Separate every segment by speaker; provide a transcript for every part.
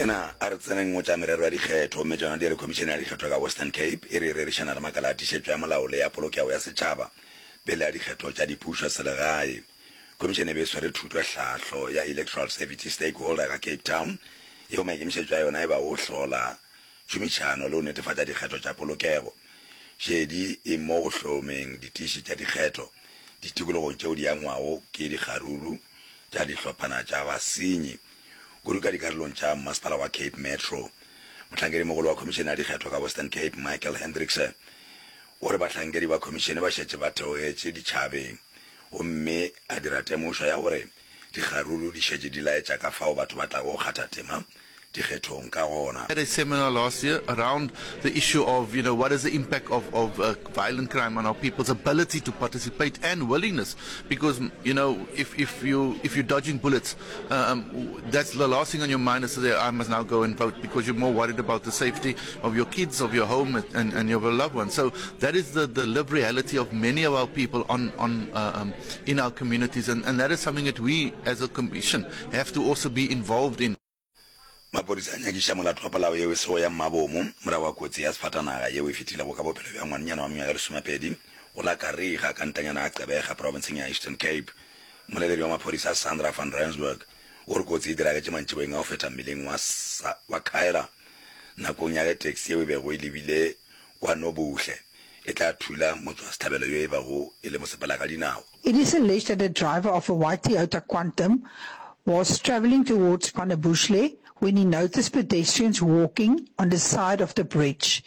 Speaker 1: Ena a re tseneng go tša merero ya dikgetho, gomme tšona di re Khomišene ya Dikgetho ka Western Cape e re e rerišana le makala a tiišetšo ya molao le ya polokego ya setšhaba pele ga dikgetho tša dipušo selegae. Khomišene e be e swere thutohlahlo ya Electoral Safety Stakeholder ka Cape Town, yeo maikemišetšo a yona e bago go hlola tšhomišano le go netefatša dikgetho tša polokego. Šedi e mo go hlomeng ditiši tša dikgetho ditikologong tšeo di angwago ke dikgaruru tša dihlophana tša basenyi, kudu ka dikarolong tša Mmasepala wa Cape Metro. Mohlankedimogolo wa Khomišene ya Dikgetho ka Western Cape, Michael Hendrickse, o re bahlankedi ba khomišene ba šetše ba theogetše ditšhabeng gomme a dira temošo ya gore dikgaruru di šetše di laetša ka fao batho ba tlago go kgatha tema dikgethong ka gona.
Speaker 2: Had a seminar last year around the issue of, you know, what is the impact of, of uh, violent crime on our people's ability to participate and willingness. Because, you know, if, if, you, if you're dodging bullets, um, that's the last thing on your mind is to say, I must now go and vote because you're more worried about the safety of your kids, of your home, and, and your loved ones. So that is the, the lived reality of many of our people on, on, uh, um, in our communities. And, and that is something that we as a commission have to also be involved in.
Speaker 1: Maphodisa a nyakiša molato wa polao yeo e sego ya mmabomo morago ga kotsi ya sefatanaga yeo e fetilego ka bophelo bja ngwanenyana wa mengwaga e lesomepedi go la Kariega ka ntanyana ya Gqeberha profenseng ya Eastern Cape. Mmoleledi wa maphodisa Sandra van Rensburg o re kotsi e diragetše mantšiboeng a go feta mmileng wa wa Khyra nakong ya ge taxi yeo e bego e lebile kwa Nobuhle e tla thula motšwasehlabelo yo e bego e le mosepelakadinao.
Speaker 3: It is alleged that the driver of a white Toyota Quantum was travelling towards Panabuhle when he noticed pedestrians walking on the side of the bridge.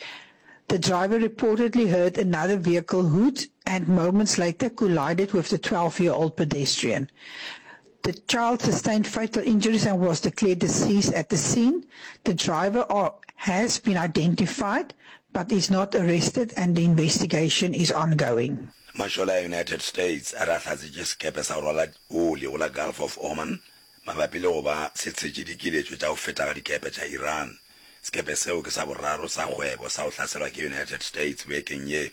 Speaker 3: The driver reportedly heard another vehicle hoot and moments later collided with the 12-year-old pedestrian. The child sustained fatal injuries and was declared deceased at the scene. The driver has been identified but is not arrested and the investigation is ongoing.
Speaker 1: Mašole a United States a re a hlatsetše sekepe sa go rwala oli go la Gulf of Oman mabapi le go ba se tshetše dikiletšo tša go feta ga dikepe tša Iran. Sekepe seo ke sa boraro sa kgwebo sa go hlaselwa ke United States bekeng ye.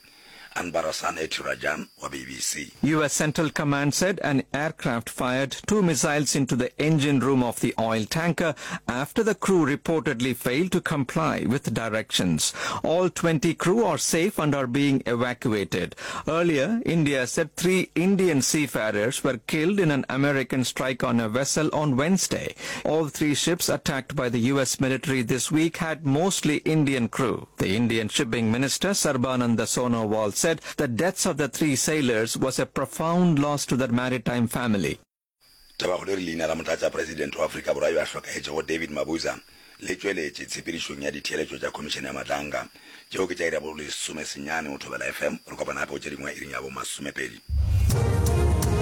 Speaker 1: Anbarasan Ethirajan wa BBC.
Speaker 4: US Central Command said an aircraft fired two missiles into the engine room of the oil tanker after the crew reportedly failed to comply with directions. All 20 crew are safe and are being evacuated. Earlier, India said three Indian seafarers were killed in an American strike on a vessel on Wednesday. All three ships attacked by the US military this week had mostly Indian crew. The Indian shipping minister Sarbananda Sonowal said the deaths of the three sailors was a profound loss to the maritime family.
Speaker 1: Tabakgolo e re leina la Motlatšapresidente wa Afrika Borwa yo a hlokagetšego David Mabuza le tšweletše tshepedišong ya ditheeletšo tša Khomišene ya Madlanga. Tšeo ke tša iri ya bo lesomesenyane go Thobela FM. Re kopana gape go tše dingwe iring ya bo masomepedi.